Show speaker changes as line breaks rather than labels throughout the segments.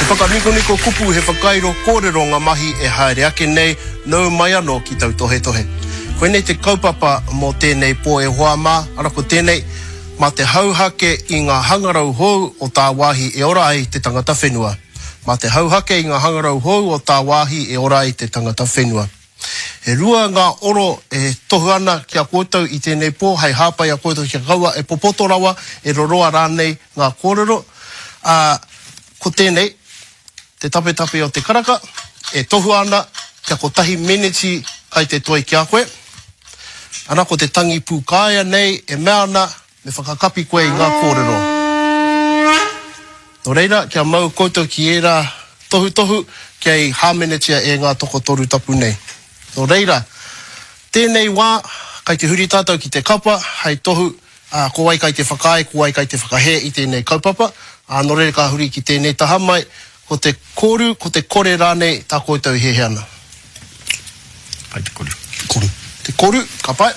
whakanikoniko kupu, he whakairo kōrero ngā mahi e haere ake nei, nau mai anō ki tautohetohe. Koinei te kaupapa mō tēnei pō e hoa mā, ara ko tēnei, mā te hauhake i ngā hangarau hou o tāwāhi e ora ai te tangata whenua. Mā te hauhake i ngā hangarau hou o tāwāhi e ora ai te tangata whenua. E rua ngā oro e tohu ana ki a koutou i tēnei pō hei hāpai i a koutou kia kaua e popoto rawa, e roroa rānei ngā kōrero, ā, ko tēnei, te tapetape o te karaka, e tohua ana kia kotahi meneti kai te toi ki a koe. Ana ko te tangi pūkāea nei e mea ana me whakakapi koe i ngā kōrero. Nō reira, kia mau koutou ki ērā tohutohu kei hāmenetia e ngā tokotoru tapu nei. Nō reira, tēnei wā, kai te huri tātou ki te kapa hei tohu, ā, ko wai kai te whakaae, ko wai kai te whakahē i tēnei kaupapa, ā, nō reira ka huri ki tēnei taha mai, ko te koru, ko te kore rānei tā koutou e hiahia ana.
Kai te koru.
Koru. Te koru, ka pai.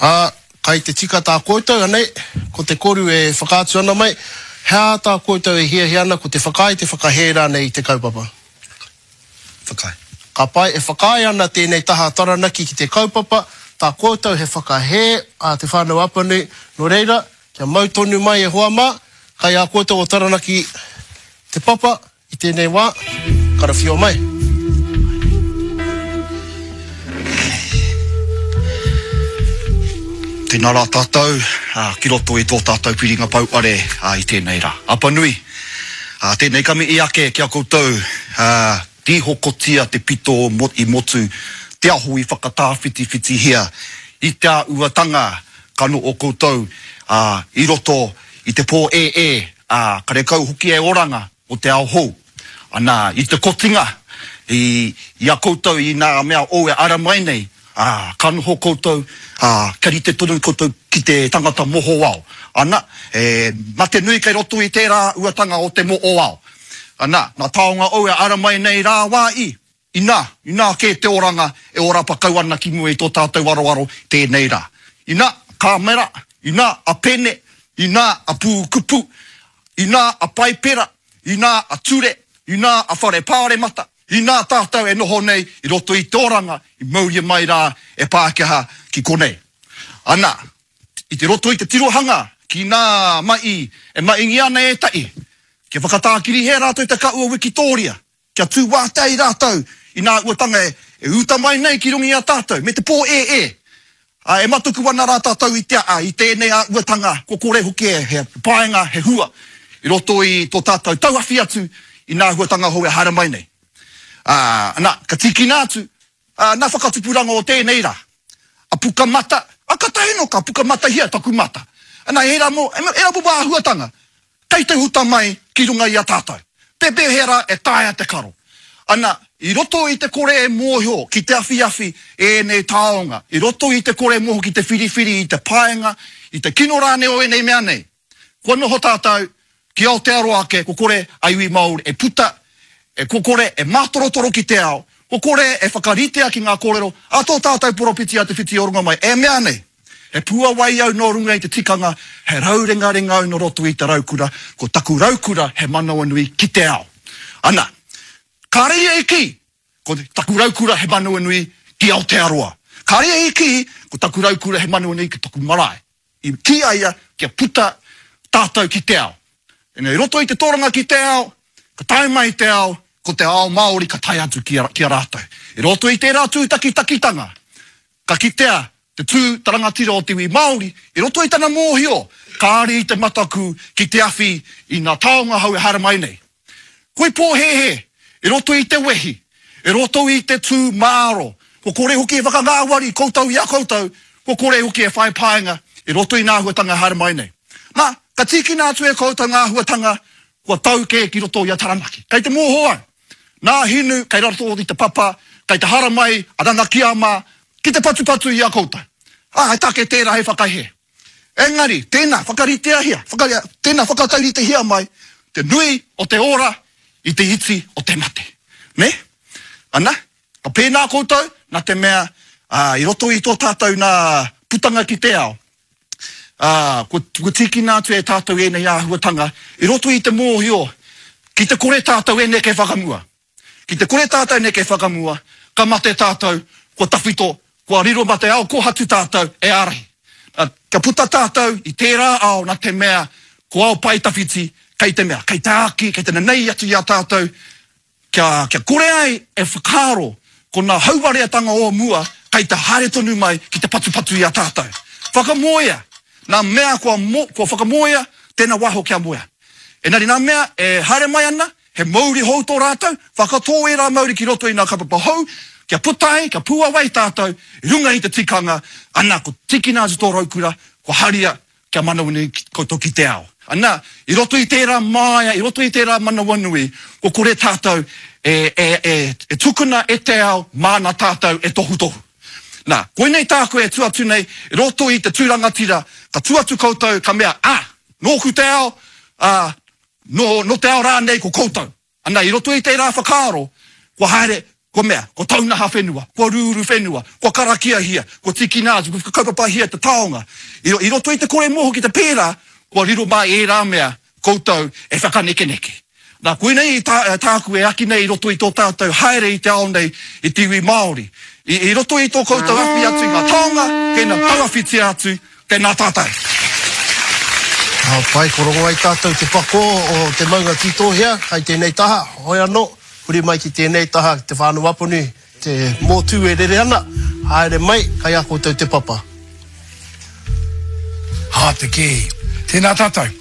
Ā, kai te tika tā koutou, anei, ko te koru e whakaatu ana mai, he aha tā koutou e hiahia ana, ko te whakaae, te whakahē rānei i te kaupapa?
Whakaae.
Ka pai, e whakaae ana tēnei taha Taranaki ki te kaupapa, tā koutou he whakahē a Te Whānau Apanui, nō reira, kia mau tonu mai e hoa mā, kai a koutou o Taranaki te papa, I tēnei wā, karawhio mai.
Tēnā rā tātou ki roto i tō tātou piringa pouare i tēnei rā. Apanui, tēnei ka mihi ake ki a koutou, tīhokotia te pito i motu, te aho i whakatāwhitiwhitihia i te āuatanga ka noho koutou i roto i te pō-ē-ē, karekau hoki e oranga o te ao hou. Ana, i te kotinga, i, i a koutou i nā mea ou e ara mai nei, ā, ka noho koutou, ā, kia rite tonu koutou ki te tangata mohoao. Ana, e mate nui kei roto i tērā uatanga o te moʻoao. Ana, nā taonga ou e ara mai nei rā wā i, Inā, inā kē te oranga e orapa kau ana ki mua i tō tātou aroaro tēnei rā. Inā, kāmera, inā, a pene, inā, a pūkupu, inā, a paipera, inā, a ture, inā, a whare pāremata, inā tātou e noho nei i roto i te oranga i mauria mai rā e Pākehā ki konei. Ana, i te roto i te tirohanga ki nā ma'i e maʻingia ana ētaʻi, kia whakatākirihia rātou te kaʻu o Wikitōria, Kia tū wātea ai rātou i nā uatanga e uta mai nei ki runga i a tātou, me te pō-ē-ē. Ā, e matuku ana rā tātou i te ā, i tēnei āhuatanga, kua kore hoki he painga, he hua i roto i tō tātou tauawhi atu i nā āhuatanga hou e haere mai nei. Ā, nā, ka tīkina atu, ā, nā whakatupuranga o tēnei rā, a Pukamata, ā, kātahi anō ka pukamatahia taku mata. Nā, ērā mō, ērā momo āhuatanga, Kei te huta mai ki runga i a tātou. Pēpēhea rā e taea te karo? Ana, i roto i te kore e mōhio ki te awhiawhi ēnei taonga, i roto i te kore mōhio ki te whiriwhiri i te paenga, i te kino rānei o ēnei mea nei, kua noho tātou ki Aotearoa ake, kua kore a iwi Māori e puta, e kua kore e mātorotoro ki te ao, kua kore e whakaritea ki ngā kōrero a tō tātou poropiti a Te Whiti-o-Rongomai e mea nei. He puawai au nō runga i te tikanga, he raurengarenga au nō roto i te raukura, ko taku raukura he manawanui ki te ao. Ana, kāre ia i kī, ko taku raukura he manawanui ki Aotearoa. Kāre ia i kī, ko taku raukura he manawanui ki taku marae. I kī a ia kia puta tātou ki te ao. Engari i roto i te toranga ki te ao, ka tae mai te ao, ko te ao Māori ka tae atu ki a, ki a rātou. I roto i tērā tūtakitakitanga, Ka kitea te tū ta rangatira o te iwi Māori i roto i tana mōhio kāre i te mataku ki te awhi i ngā taonga hou e haere mai nei. Koi pōhēhē i roto i te wehi, i roto i te tū māro, kua kore hoki e whakangāwari koutou i a koutou, kua kore hoki e whai painga i roto i ngā āhuatanga e haere mai nei. Nā, ka tīkina atu e koutou ngā āhuatanga kua tau kē ki roto i a Taranaki. Kei te mōhio au, Nā Hinu kei roto i te papa, kei te haramai a Nanakia mā ki te patupatu i a koutou. Ā, he take tērā hei whakahē. Engari, tēnā, whakariteahia, whaka, tēnā whakatauritehia mai te nui o te ora i te iti o te mate. Nē? Ana, ka pēnā koutou, nā te mea, ā, i roto i tō tātou nā putanga ki te ao, Ā, kua, kua tīkina atu e tātou ēnei āhuatanga i roto i te mōhio ki te kore tātou e neke whakamua. Ki te kore tātou e neke whakamua, ka mate tātou, kua tawhito, kua riro mā te ao kōhatu tātou e ārahi. Nā, kia puta tātou i tērā ao nā te mea ko ao pae tawhiti kei te mea, kei te āki, kei te nanei atu i a tātou Kia, kia kore ai e whakaaro ko nā hauwareatanga o mua kei te haere tonu mai ki te patupatu i a tātou. Whakamoea nā mea kua, kua whakamoea, tēnā waiho kia moea. Engari nā mea e haere mai ana, he mouri hou tō rātou, whakatō ērā mauri ki roto i nā kaupapa hou, kia puta ai, kia pūawai tātou i runga i te tikanga, ana, ko tīkina atu tō raukura, kua haria Kia manawanui koutou ki te ao. Ana, i roto i tērā māia, i roto i tērā manawanui, kua kore tātou e, e, e, e tukuna e te ao māna tātou e tohutohu. Nā, koinei tāku e tū atu nei, i roto i te tū rangatira, ka tū atu koutou, ka mea, ā, nōku te ao, ā, nō, nō te ao rānei ko koutou. Ana, i roto i tērā whakaaro, kua haere, kua mea, kua taunaha whenua, kua rūru whenua, kua karakiahia, kua tīkina atu, kua whakakaupapahia te taonga. I, i roto i te kore mōhio ki te pērā, kua riro mā ērā mea koutou e whakanekeneke. Nā, koinei tā, tāku e aki nei i roto i tō tātou haere i te ao nei, i te iwi Māori. I, i roto i tō koutou awhi atu i ngā taonga, kei tauawhitia atu, Tēnā tātou.
Ka pai, ko rongo ai tātou te pakō o te maunga Tītōhea kai tēnei taha, hoi anō, huri mai ki tēnei taha ki Te Whānau-a-Apanui, te mōtū e rere ana, haere mai, kai a koutou te papa.
Hā te kēhi. Tēnā tātou.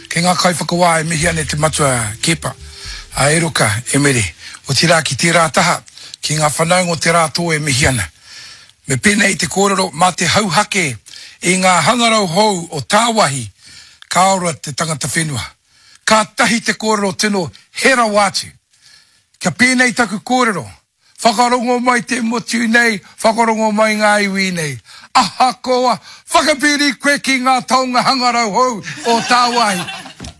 Kei ngā kaiwhakawā e mihi ana e te matua Keepa, a Eroka Emere. Otirā ki tērā taha, ki ngā whanaunga o te rā tō e mihi ana. Me pēnei te kōrero, mā te hauhake i ngā hangarau hou o tāwāhi ka ora te tangata whenua. Kātahi te kōrero tino he rawa atu. Kia pēnei taku kōrero, whakarongo mai te motu nei, whakarongo mai ngā iwi nei. Ahakoa whakapiri koe ki ngā taonga hangarau hou o tāwāhi,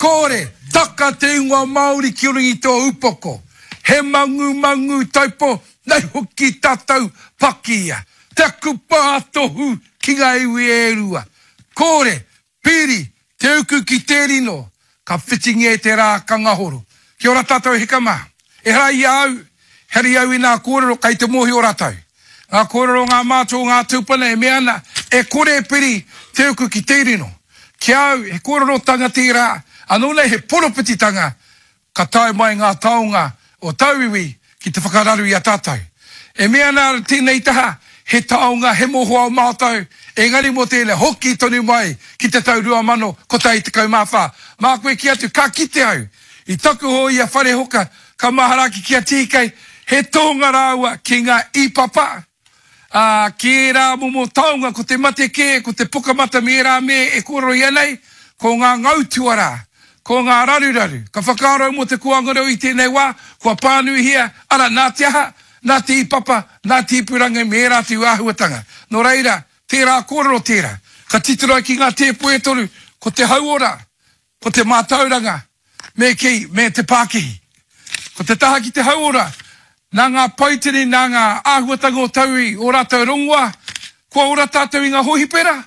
kore, taka te ingoa Māori ki runga i tō upoko. He mangumangu taipo Nei hoki tatou pakia te kupa tohu ki nga iwi e rua. Kore, piri, te uku ki te rino, ka whitingia e te ra ka ngahoro. Kia ora tatou e hika ma. Ehara i a au, ehara i au i nga korero kei te mohio ratou. Nga korero o nga matua o nga tupuna e mea ana, e kore e piri te uku ki te rino. Ki a au, he korerotanga tera, ano nei he poropititanga Ka tae mai ngā taonga o tauiwi ki te whakararu i a tātou. E mea ana tēnei taha, he taonga, he mohoao mātou, engari mō tēnei, hoki tonu mai ki te tau 2014. Māku e kī atu, ka kite au i taku hoe i a Wharehoka, ka mahara ake ki a TK, he tohunga rāua ki ngā īpapa, Ā, ki ērā momo taonga, ko te mate kē, ko te pukamata me ērā me e kōrerohia nei, ko ngā ngau tuarā, ko ngā raruraru. Ka whakaaro au mō te kōanga reo i tēnei wā, kua pānuihia, arā, nā te aha? Nā te īpapa, nā te ipurangi me ērā atu āhuatanga. Nō reira, tērā kōrero tērā. Ka titiro ai ki ngā tēpu e toru, ko te hauora, Ko te mātauranga, me kī, me te pākihi. Ko te taha ki te hauora, nā ngā paitini, nā ngā āhuatanga o tauwi, ō rātou rongoā, kua ora tātou i ngā hōhipera?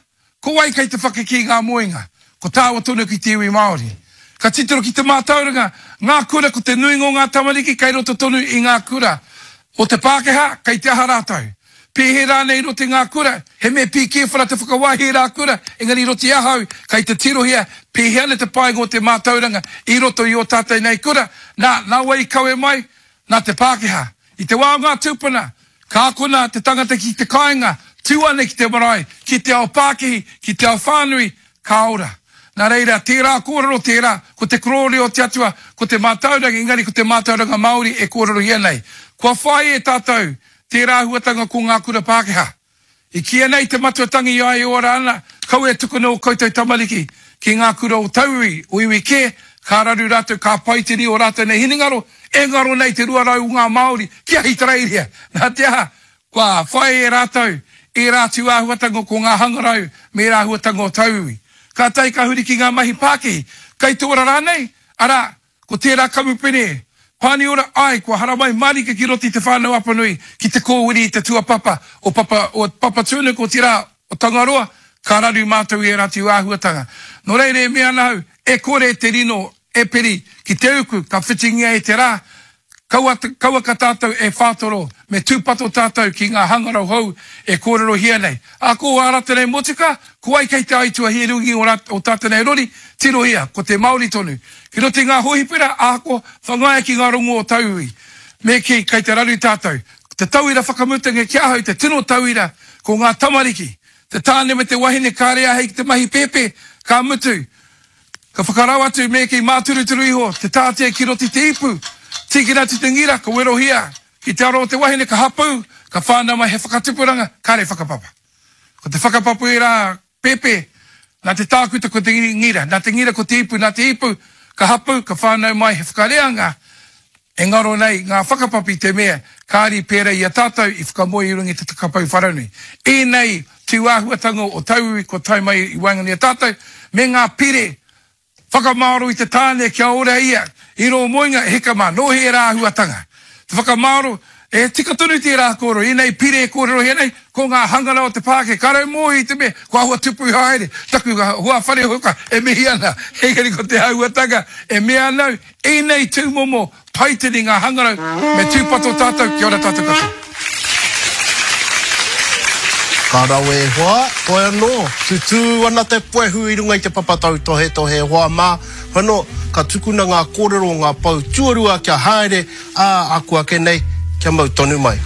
Ko wai kei te whakakī ngā moenga? Ko tāua tonu ki te iwi Māori. Ka titiro ki te mātauranga, ngā kura, ko te nuinga o ngā tamariki kei roto tonu i ngā kura o te Pākehā, kei te aha rātou? Pēhea rānei i roto i ngā kura, he mea pīkēwhara te whakawāhi i rā kura, engari i roto i ahau, kei te tirohia pēhea ana te painga o te mātauranga i roto i ō tātou nei kura, nā, nā wai i kawe mai? Nā te Pākehā. I te wā o ngā tūpuna, ka akona te tangata ki te kāinga, tū ana ki te marae, ki te ao pākihi, ki te ao whānui, ka ora. Nā reira, tērā kōrero tērā, ko te korōria o te Atua, ko te mātauranga, engari ko te mātauranga Māori e kōrerohia nei. Kua whāia e tātou Tērā āhuatanga ko ngā kura Pākehā. I kīia nei te matua tangi i a ia e ora ana, kaua e tukuna ō koutou tamariki ki ngā kura o tauiwi, o iwi kē, ka raru rātou, ka paitini ō rātou nei hinengaro, e ngaro nei te 200 o ngā Māori ki Ahitereiria. Nā te aha, kua whai e rātou ērā atu āhuatanga ko ngā hangarau me ērā āhuatanga o tauiwi. Kātahi ka huri ki ngā mahi pākihi, kei te ora rānei, arā, Ko tērā kamupene, Pāniora, āe, kua haramai mārika ki roto i Te Whānau Apanui ki te kōwiri i te tuapapa o Papa, o Papatūānuku, otirā, o Tangaroa, Ka raru mātou i ērā atu āhuatanga. Nō reira e mea ana au, e kore te rino e piri ki te uku ka whitingia e te rā, kaua, kauaka tātou e whātoro, me tūpato tātou ki ngā hangarau hou e kōrerohia nei. Ā, ko ā rātou nei motuka, ko wai kei te aituā hīrungi o rā, o tātou nei rori, tirohia, ko te Māori tonu. Ki roto i ngā hōhipera, ahakoa, whangaia ki ngā rongo o tauiwi. Me kī, kei te raru tātou. Ko te tauira whakamutunga ki ahau, te tino tauira, ko ngā tamariki. Te tāne me te wahine kāre āhei ki te mahi pēpē, ka mutu, ka whakarau atu me kī māturuturu iho te tātea ki roto i te ipu, tīkina atu te ngira, ka werohia ki te aro o te wahine, ka hapū, ka whānau mai he whakatupuranga, kāre whakapapa. Ko te whakapapa ērā pēpē, nā te tākuta ko te ngira, nā te ngira ko te ipu, nā te ipu, ka hapū, ka whānau mai he whakareanga, E ngaro nei ngā whakapapa i te mea kāri pērā i a tātou i whakamoe i runga i te takapau wharanui. Ēnei tūāhuatanga o tauiwi kua tae mai i waenganui i a tātou, me ngā pire whakamāro i te tāne kia ora ia i rō moenga, e hika mā, nō hea ērā āhuatanga? Te whakamāro, e tika tonu tērā kōrero, ēnei pire e kōrerohia nei, ko ngā hangara o te Pākehā, ka rau mōhio i te mea kua āhua tupu haere taku hoa whare hoka e mihi ana, engari ko te āhuatanga e mea ana au, Ēnei tūmomo paitini ngā hangarau me tūpato tātou kia ora tātou katoa.
Ka rawe e hoa, toi anō, tutū ana te puehu i runga i te papa tautohetohe e hoa mā, whano, ka tukuna ngā kōrero o ngā pou tuarua kia haere, ā, akuake nei, kia mau tonu mai.